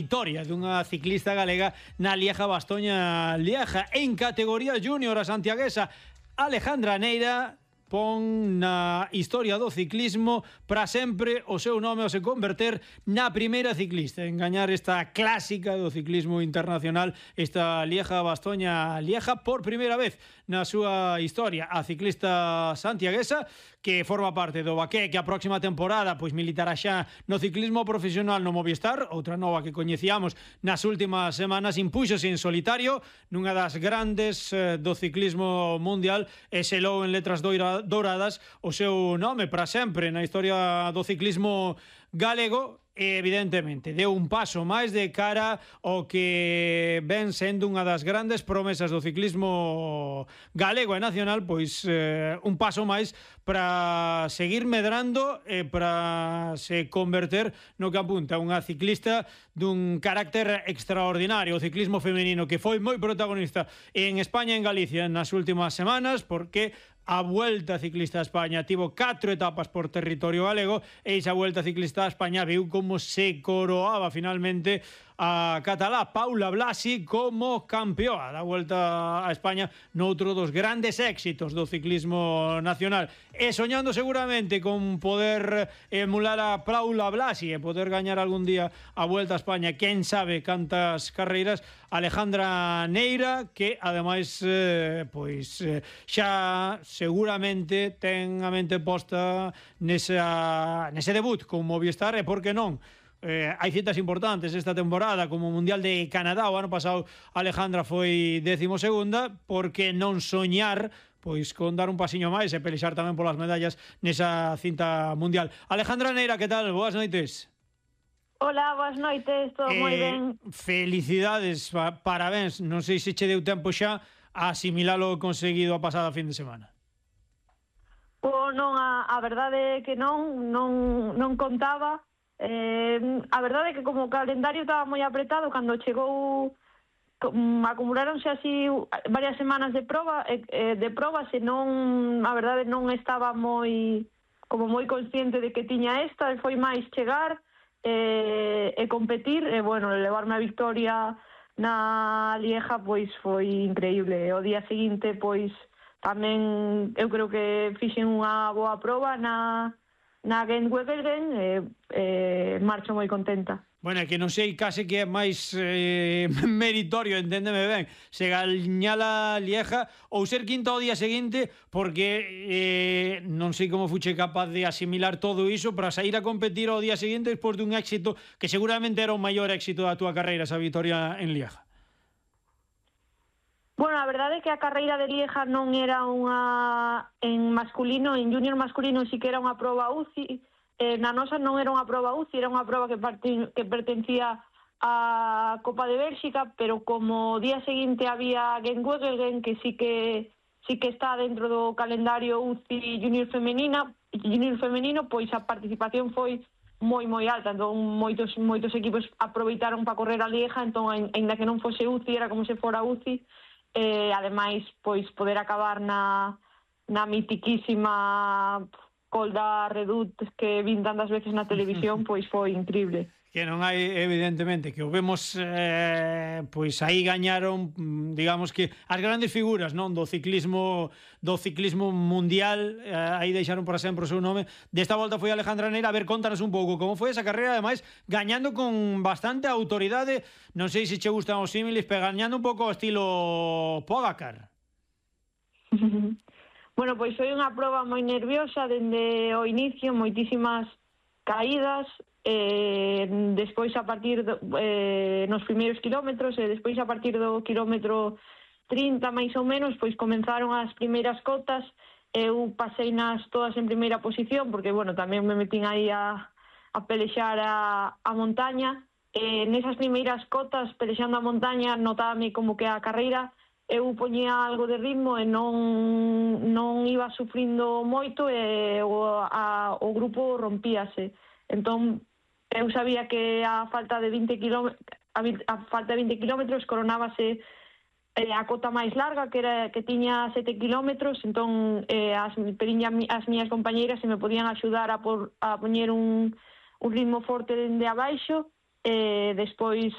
Victoria dunha ciclista galega na Lieja-Bastoña-Lieja. En categoría júnior, a santiaguesa Alejandra Neira pon na historia do ciclismo para sempre o seu nome ao se converter na primeira ciclista en gañar esta clásica do ciclismo internacional, esta Lieja-Bastoña-Lieja, por primeira vez na súa historia. A ciclista santiaguesa que forma parte do Baqué, que a próxima temporada pois militará xa no ciclismo profesional no Movistar, outra nova que coñecíamos nas últimas semanas, impúxose en solitario nunha das grandes do ciclismo mundial e selou en letras douradas o seu nome para sempre na historia do ciclismo galego. E evidentemente deu un paso máis de cara ao que ven sendo unha das grandes promesas do ciclismo galego e nacional, pois un paso máis para seguir medrando e para se converter no que apunta unha ciclista dun carácter extraordinario. O ciclismo femenino que foi moi protagonista en España e en Galicia nas últimas semanas, porque a Vuelta Ciclista a España tivo 4 etapas por territorio galego e esa Vuelta Ciclista a España viu como se coroaba finalmente a catalá Paula Blasi como campeoa da Vuelta a España noutro dos grandes éxitos do ciclismo nacional, e soñando seguramente con poder emular a Paula Blasi e poder gañar algún día a Vuelta a España, quen sabe cantas carreiras, Alejandra Neira, que ademais pois xa seguramente ten a mente posta nese debut con Movistar, e por que non hai citas importantes esta temporada como o Mundial de Canadá. O ano pasado Alejandra foi 12ª, porque non soñar pois con dar un pasiño máis e pelexar tamén polas medallas nesa cinta mundial. Alejandra Neira, que tal? Boas noites. Hola, boas noites, todo moi ben. Felicidades, parabéns. Non sei se che deu tempo xa a asimilar o conseguido a pasada fin de semana. Non, a verdade é que non contaba. A verdade é que como o calendario estaba moi apretado, cando chegou acumuláronse así varias semanas de probas e non, a verdade non estaba moi consciente de que tiña esta, e foi máis chegar e competir e, bueno, levarme a victoria na Lieja pois foi increíble. O día seguinte pois tamén eu creo que fixen unha boa proba na Gent-Wevelgem e marcho moi contenta. Bueno, que non sei case que é máis meritorio, enténdeme ben, se gañala Lieja ou ser quinta ao día seguinte, porque non sei como fuche capaz de asimilar todo iso para sair a competir ao día seguinte despois dun éxito que seguramente era o maior éxito da túa carreira, esa vitoria en Lieja. Bueno, a verdade é que a carreira de Lieja non era unha en masculino, en júnior masculino sí que era unha proba UCI, na nosa non era unha proba UCI, era unha proba que pertencía á Copa de Bélxica, pero como o día seguinte había Gent-Wevelgem, que sí que está dentro do calendario UCI júnior femenino, pois a participación foi moi alta, entón moitos equipos aproveitaron para correr a Lieja, entón aínda que non fose UCI, era como se fora UCI. Ademais, pois poder acabar na mitiquísima Col da Redut que vin tantas veces na televisión, pois foi increíble. Que non hai, evidentemente, que o vemos pois aí gañaron, digamos que as grandes figuras, non, do ciclismo mundial, aí deixaron para sempre o seu nome. Desta volta foi Alejandra Neira. A ver, contanos un pouco como foi esa carreira, ademais gañando con bastante autoridade. Non sei se che gustan os símiles, pero gañando un pouco ao estilo Pogacar. Bueno, pois foi unha proba moi nerviosa dende o inicio, moitísimas caídas, despois a partir nos primeiros kilómetros e despois a partir do kilómetro 30 máis ou menos, pois comenzaron as primeiras cotas. Eu pasei nas todas en primeira posición porque, bueno, tamén me metín aí a pelexar a montaña. Nesas primeiras cotas, pelexando a montaña, notábame como que a carreira eu poñía algo de ritmo e non iba sufrindo moito e o grupo rompíase. Entón, eu sabía que a falta de 20 kilómetros coronábase a cota máis larga, que tiña 7 kilómetros, entón as miñas compañeiras se me podían axudar a poñer un ritmo forte dende abaixo despois